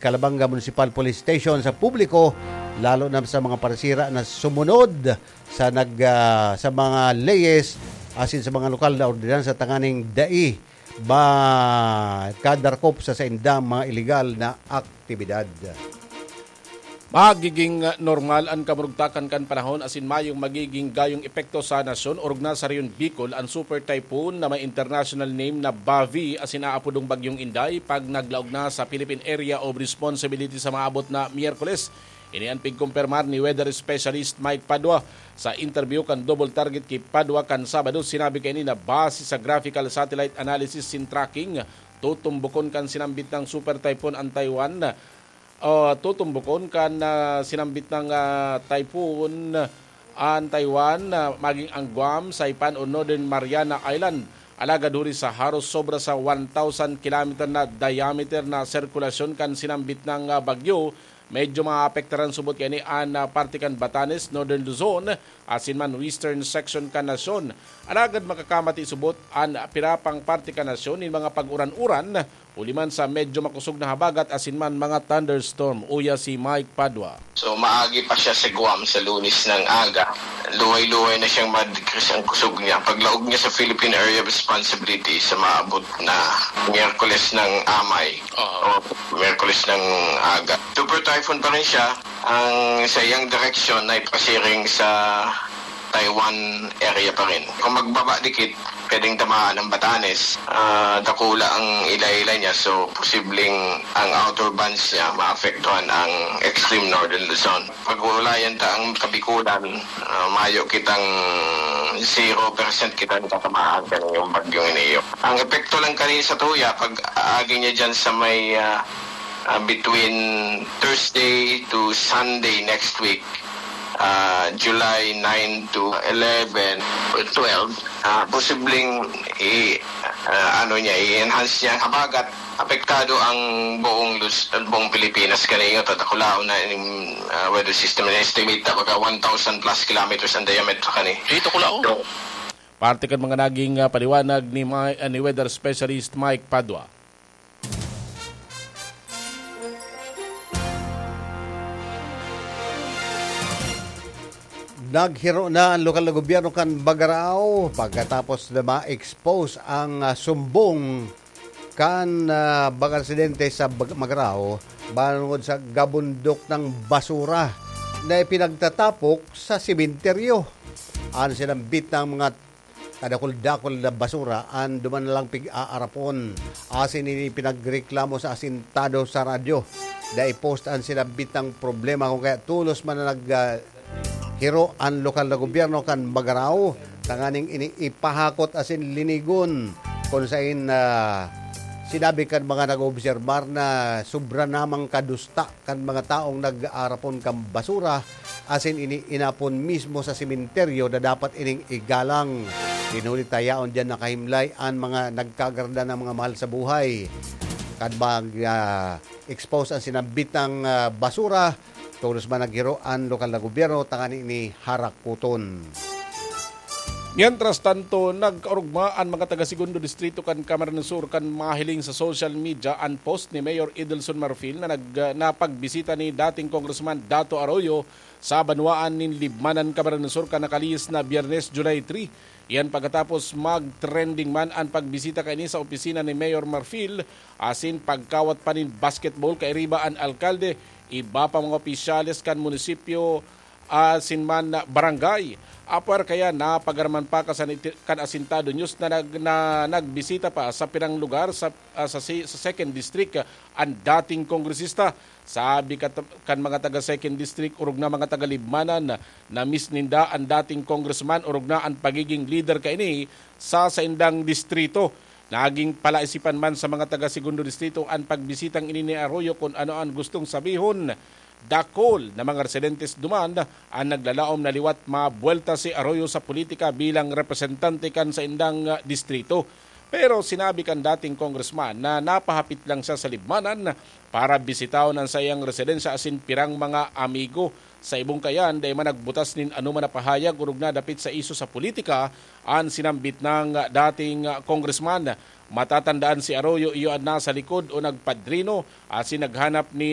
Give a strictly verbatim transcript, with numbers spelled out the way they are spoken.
Calabanga Municipal Police Station sa publiko, lalo na sa mga parisira na sumunod sa nag, ah, sa mga leyes asin sa mga lokal na ordinansa tanganing dai makadarkop sa saindang mga iligal na aktibidad. Magiging normal an kamurugtakan kan panahon asin mayong magiging gayong epekto sa nasyon orog na sa Rehiyon Bicol an Super Typhoon na may international name na Bavi asin aapodong Bagyong Inday pag naglaog na sa Philippine Area of Responsibility sa maabot na Miyerkules. Ini an pigkumpirmar ni weather specialist Mike Padua sa interview kan Double Target ki Padua kan Sabado. Sinabi kaini na base sa graphical satellite analysis sin tracking, tutumbokon kan sinambit na Super Typhoon an Taiwan. O, tutumbokon kan, ah, sinambit na, ah, typhoon an Taiwan, ah, maging ang Guam, Saipan o Northern Mariana Island. Alagad huli sa haros sobra sa one thousand kilometer na diameter na sirkulasyon kan sinambit na, ah, bagyo, medyo maapektaran subot kaini an, ah, parte kan Batanes, Northern Luzon, asin man western section kan nasyon. Alagad makakamati subot an pira pang parte kan nasyon nin mga pag-uran-uran, huli man sa medyo makosog na habagat asin man mga thunderstorm. Uya si Mike Padua. So, maagi pa siya sa Guam sa Lunes ng aga. Luway-luway na siyang ma-decrease ang kusog niya. Paglaog niya sa Philippine Area of Responsibility sa maabot na Miyerkules ng amay Oo. o Miyerkules ng aga. Super typhoon pa rin siya. Ang sa iyang direksyon ay pasiring sa Taiwan area pa rin. Kung magbaba dikit, pwedeng tamaan ang Batanes. Ah, dakula ang ila-ila niya, so posibleng ang outer bands niya maapektuhan ang extreme northern Luzon. Pag-uulayan ta ang Kabikulan, ah, mayo kitang zero percent kita natatamaan kaning bagyong ini. Ang epekto lang kani sa tuya, pag aagi niya dyan sa may, ah, ah, between Thursday to Sunday next week, ah, July nine to eleven or twelve, ah, posibleng i-, ah, ano niya, i-enhance niya ang habagat. Apektado ang buong Luz-, buong Pilipinas kani, tadakulaon na yung, ah, weather system na estimate na baga one thousand plus kilometers ang diameter kani. Dito ko lang. So, Parte kan mga naging, ah, paliwanag ni Ma-, ah, ni weather specialist Mike Padua. Naghiro na ang lokal na gobyerno kan Bagarao pagkatapos na ma-expose ang, ah, sumbong kan, ah, mga residente sa Bag-, Magarao bangon sa gabundok ng basura na ipinagtatapok sa sementeryo. Ang sinambit ng mga kadakul-dakul na basura an duman na lang pig-aarapon. Asin ini pinagreklamo sa asintado sa radyo. Dai post an sinambit ng problema kung kaya tolos man na nag, ah, hiro an lokal na gobyerno kan Magarao tanganing ini ipahakot asin linigon kun sain, ah, sinabi kan mga nag-oobserbar na sobra namang kadusta kan mga taong nag-aarapon kan basura asin ini inapon mismo sa sementeryo na dapat ining igalang. Dinuli ta yaon diyan nakahimlay an mga nagkagarda ng mga mahal sa buhay. Kan mag, ah, expose ang sinambit ng, ah, basura, tolos man naghiro an lokal na gobyerno tanganing ini harakuton. Mientras tanto, nagkaorogma an mga taga Segundo Distrito kan Camarines Sur kan mahiling sa social media an post ni Mayor Edelson Marfil na nag-, na pagbisita ni dating Congressman Dato Arroyo sa banwaan nin Libmanan, Camarines Sur kan nakalihis na Biyernes, July three. Iyan pagkatapos mag-trending man an pagbisita kaini sa opisina ni Mayor Marfil asin pagkawat pa nin basketball kairiba an alkalde, iba pa mga opisyales kan munisipyo asin man barangay. Apwera kaya, napagaraman pa kan, kan Asintado News na nag-, na nagbisita pa sa pirang lugar sa, ah, sa si-, sa Second District, ah, an dating kongresista. Sabi kat-, kan mga taga Second District, orog na mga taga Libmanan, na-miss ninda an dating congressman, orog na an pagiging lider kaini sa saindang distrito. Naging palaisipan man sa mga taga Segundo Distrito an pagbisitang ini ni Arroyo kun ano an gustong sabihon. Dakul na mga residentes duman an naglalaom na liwat mabuwelta si Arroyo sa politika bilang representante kan saindang, ah, distrito. Pero sinabi kan dating congressman na napahapit lang siya sa Libmanan para bisitahon an saiyang residensya asin pirang mga amigo. Sa ibong kayan, dai man nagbutas nin anoman na pahayag orog na dapit sa isyu sa politika an sinambit nang dating congressman. Matatandaan si Arroyo iyo an nasa likod o nagpadrino asin naghanap nin